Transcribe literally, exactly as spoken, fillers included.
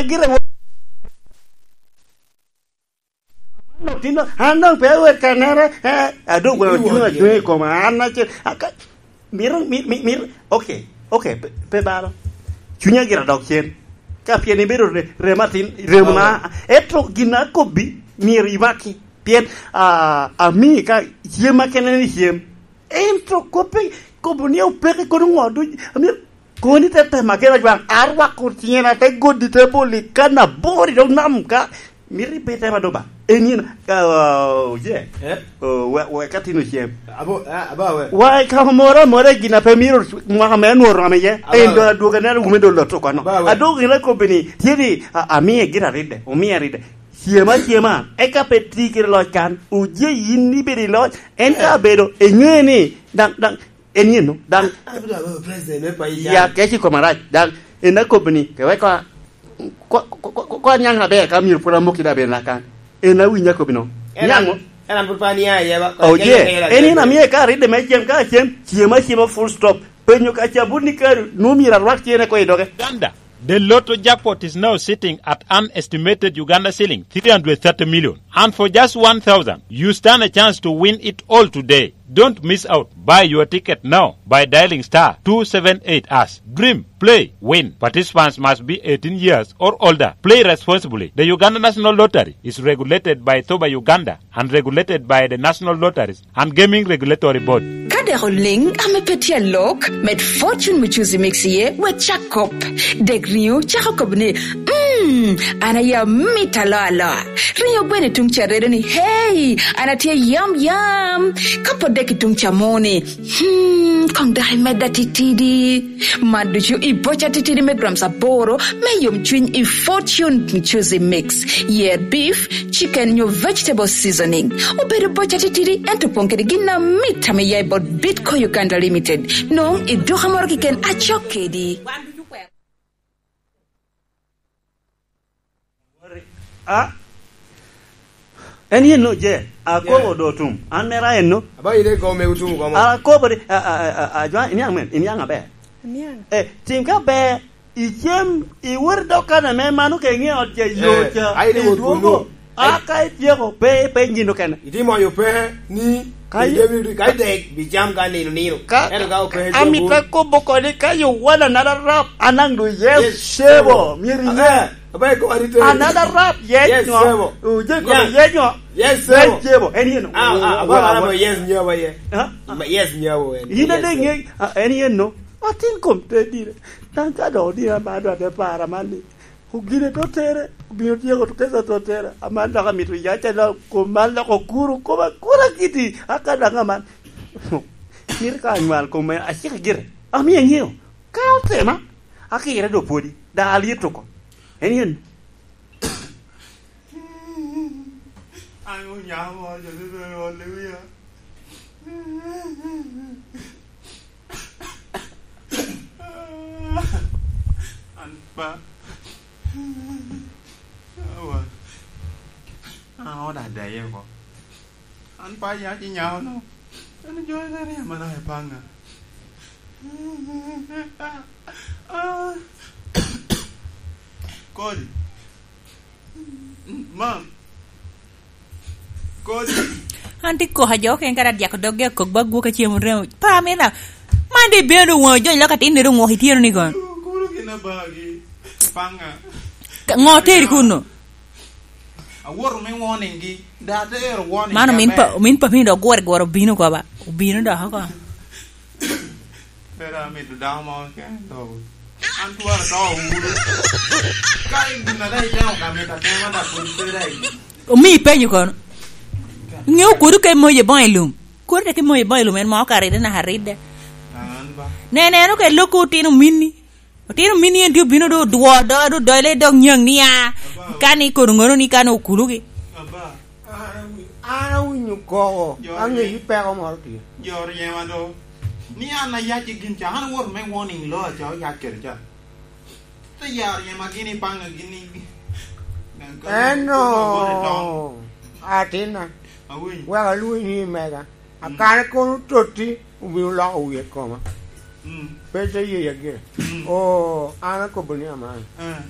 Gire wo-, an doŋ tin doŋ, an doŋ pe awot kanere, eh, a doŋ gweno cuŋ acuŋa i koma, an acel, aka-, mito, mi-, mi-, mito, ok, ok, pe, pe balo. Cunya gire adok cen. Ka pien ibedo re-, remo atin, remo na, ento gin akobbi, myero imaki. Pien, ah, ami ka cem akene ni cem. Ento kop pe, kobo ni opeke kono ŋo duc, amyero koni te tema kena jwaŋ, arwako ciŋena te godi te boli kan abor i dog nam ka, mito ibe tema doba. En yen, ah, oye. Eh? Oh, we, we ka tin ocem. Abo, ah, aba we. Wa ka moro amora gin a pe miro mwaka me anworo ame ye. Aba en we. Do adwoga neno wume do lotto kono. Aba we. Adwogo gin akobo ni, tye ni, a, amiye gin aridde, omiye aridde. Cem acema, eka pe ti kede loc kan. Oye yin ibedo i loc, en ka abedo, eŋeo ni, daŋ, daŋ, en yen no, daŋ, abedo abedo president me paco ya, kec i koma rac, daŋ, en akobo ni, ke weko, ko, ko, ko, ko, ko anyaŋ aber, ka myero pwod amok kede aber na kan. En awinyo akobo no. En Nyaŋ an, mo? En an pwod pe ania iye ba, ko Oye, en yen amiye ka ridde me cem, ka cem, cem acema full stop. Penyo ka cabun ni kari, nu myero arwak cene ko i doge. Uganda. The lotto jackpot is now sitting at an estimated Uganda shilling three hundred thirty million. And for just one thousand, you stand a chance to win it all today. Don't miss out. Buy your ticket now by dialing star two seven eight hash. Dream, play, win. Participants must be eighteen years or older. Play responsibly. The Uganda National Lottery is regulated by thoba Uganda and regulated by the National Lotteries and Gaming Regulatory Board. Ka dek oliŋ ame pe tye alok, med Fortune Muchuzi Mix iye, wek cak kop. Dek riŋo cako kop ni, "Mm, an aye amito aloa aloa." Riŋo gweno i tuŋ ca redo ni, "Hey, an atye yam yam." Ka pwod dek i tuŋ ca mo ni, "Hmm, koŋ dok imedda titidi." Man ducu i boca titidi me grams aboro me yomcwiny i Fortune Muchuzi Mix. Yer beef, chicken nyo vegetable seasoning. Obedo boca titidi, ento opoŋ kede gin amit ame ya i bot Bitco Uganda Limited. Nwoŋo i duka moro keken acok kedi. A? En yen no je, akobo do tum. An mera en no. Aba ine go me utum go mo. Akobo di, a, a, a, a, a, jwa, iniaŋ men, iniaŋ aber. Iniaŋ. Eh, tim ka ber, icem, iwot i dog kan ame mano ka iŋe ot ca, yo Eh, ca, ai ni wot idwogo. Kunu. A ka ityeko, pe, pe nyin okene. Itimo yo pe ni, ka i- idemi, ka idek, bi cam ka nino nino. Ka, ento ka ope, amito akobo kodi, ka you want another rap, anaŋ do yes, Yes, sebo. Sebo. Myero iŋe. Eh, aba iko arite. Another rap, yes, Yes, no. Sebo. Uje ko, Yes. Yes, no. Yes, Yes, Sebo. Sebo. En yen. Ah, ah, aba Wa-, mara wa-, mo yes, nyo ba ye. Ah, ah. Ma-, yes, nyo ba en. In Yes, ade Sebo. Ŋe, ah, en yen no. Atin kom te dire. Daŋ ka dok odina ma adwa te para man ni, ogine te otere, obino tyeko to kesa te otere. Aman dok amito ya ca dok kom man dok okuro, kom akura kiti, aka daŋ aman. Mito ka anywal kom en, acike gire. Amio aŋeo. Ka otema, akire do pwodi. Da alyeto oko. En yen. An onyamo ojone bene ol i wia. An pa. Awa. An oda daye oko. An pa ya ci nyako no. An jo ne ri amana e panga. Kodi. Mam. Kodi. An tye koko jo okene kara dyako doggi akok ba gwoke cem oremo. Pa mena. Man de bino do woŋo jony lok atin nero ŋwok ityeno ni gon. Kuro gin abagi. Panga. Ka ŋo teri kuno? Awoto me warning gi. Da atero warning. Mano min pa, min pa piny dok gwore gwore obino ko ba. Obino dok oko. Pera amito dako mo keken to. An twara to wuro. Ka in gin ada itemo ka mito atema da pwod pera i. Omi ipenyo kono. Ŋeo kodu ke moye boŋ i lum. Kodu te ke moye boŋ i lum en ma ok aride naka aride. An ba. Ne, neno ke loko otino minni. Otino minni en tye obino do odwo do do dole dok nyaŋ ni a. Aba. Kan i kodu ŋono ni kan okulugi. Aba. An awi-, an awinyo koko, Jor aŋeyi peko moro tye. Jor yema do. Ni an ayac i gin ca, an awoto me warning lo aca oyac kede ca. Te yaro yema gini panga gini. Eno, atinna. Awinyo. Wek alwonyi ni mega. Mm. Akane kono totti, obino loko wie koma. Mm. Pe te yeya gire. Mm. Oo, an akobo ni aman. Eh.